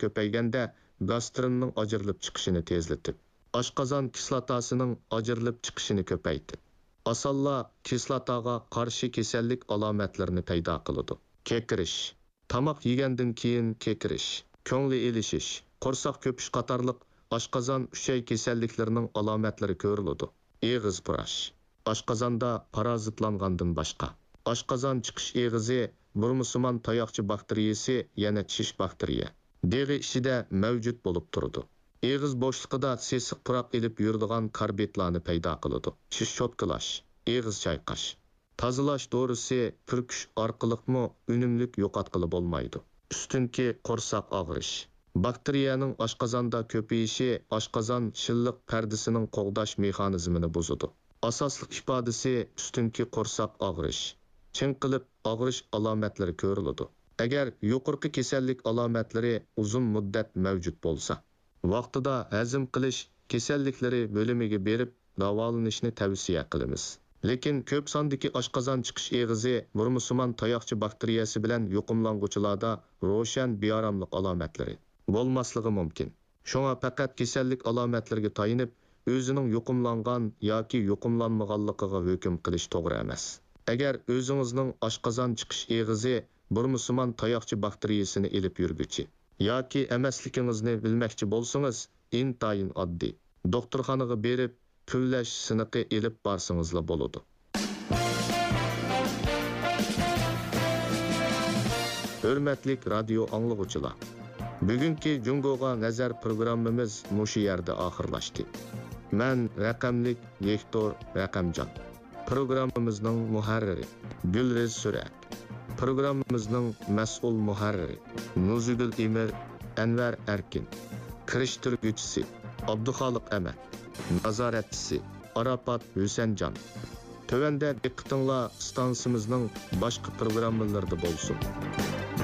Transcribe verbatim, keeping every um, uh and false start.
كۆپەيگەندە، گاسترىننىڭ ئاجرىلىپ چىقىشىنى تېزلىتىپ، ئاشقازان كىسلاتاسىنىڭ ئاجرىلىپ چىقىشىنى كۆپەيتىپ، ئاسانلا كىسلاتاغا قارشى كېسەللىك ئالامەتلىرىنى پەيدا قىلىدۇ. كېكىرىش. تاماق يېگەندىن كېيىن كېكىرىش، كۆڭلى ئېلىشىش، قورساق كۆپۈش قاتارلىق ئاشقازان، ئۈچەي كېسەللىكلىرىنىڭ ئالامەتلىرى كۆرۈلىدۇ. ئېغىز پۇراش. ئاشقازاندا پارازىتلانغاندىن باشقا، ئاشقازان چىقىش ئېغىزى بۇرمىسىمان تاياقچە باكتېرىيەسى، يەنە چىش باكتېرىيە دېغى ئىچىدە مەۋجۇت بولۇپ تۇرىدۇ. ئېغىز بوشلۇقىدا سېسىق پۇراق ئېلىپ يۈرىدىغان كاربىدلارنى پەيدا قىلىدۇ. چىش چوتكىلاش، ئېغىز چايقاش، تازىلاش دورىسى پۈركۈش ئارقىلىقمۇ ئۈنۈملۈك يوقاتقىلى بولمايدۇ. ئۈستۈنكى قورساق ئاغرىش. باكتېرىيەنىڭ ئاشقازاندا كۆپىيىشى ئاشقازان شىللىق پەردىسىنىڭ قوغداش مېخانىزمىنى بۇزىدۇ. ئاساسلىق ئىپادىسى ئۈستۈنكى قورساق ئاغرىش، چىڭقىلىپ ئاغرىش ئالامەتلىرى كۆرۈلىدۇ. ئەگەر يۇقىرىقى كېسەللىك ئالامەتلىرى ئۇزۇن مۇددەت مەۋجۇت بولسا، ۋاقتىدا ھەزىم قىلىش كېسەللىكلىرى بۆلۈمىگە بېرىپ داۋالىنىشنى تەۋسىيە قىلىمىز. لېكىن كۆپ ساندىكى ئاشقازان چىقىش ئېغىزى بۇرمىسىمان تاياقچە باكتېرىيەسى بىلەن يۇقۇملانغۇچىلاردا روشەن بىئاراملىق ئالامەتلىرى بولماسلىقى مۇمكىن. شۇڭا پەقەت كېسەللىك ئالامەتلىرىگە تايىنىپ، ئۆزىنىڭ يۇقۇملانغان ياكى يۇقۇملانمىغانلىقىغا ھۆكۈم قىلىش توغرا ئەمەس. ئەگەر ئۆزىڭىزنىڭ ئاشقازان چىقىش ئېغىزى بۇرمىسىمان تاياقچە باكتېرىيەسىنى ئېلىپ يۈرگۈچى ياكى ئەمەسلىكىڭىزنى بىلمەكچى بولسىڭىز، ئىنتايىن ئاددىي. دوختۇرخانىغا بېرىپ، پۈۋلەش سىنىقى ئېلىپ بارسىڭىزلا بولىدۇ. ھۆرمەتلىك رادىيو ئاڭلىغۇچىلار! بۈگۈنكى جۇڭگوغا نەزەر پروگراممىمىز مۇشۇ يەردە ئاخىرلاشتى. مەن رەقەملىك ۋىكتور رەقەمجان. پروگراممىمىزنىڭ مۇھەررىرى گۈلرىز سۈرە. پروگراممىمىزنىڭ مەسئۇل مۇھەررىرى نۇزۇگۈل ئىمىر، ئەنۋەر ئەركىن. كىرىشتۈرگۈچىسى ئابدۇخالىق ئەمەت. نازارەتچىسى ئاراپات ھۈسەنجان. تۆۋەندە دىققىتىڭلار ئىستانسىمىزنىڭ باشقا پروگراممىلىرىدا بولسۇن.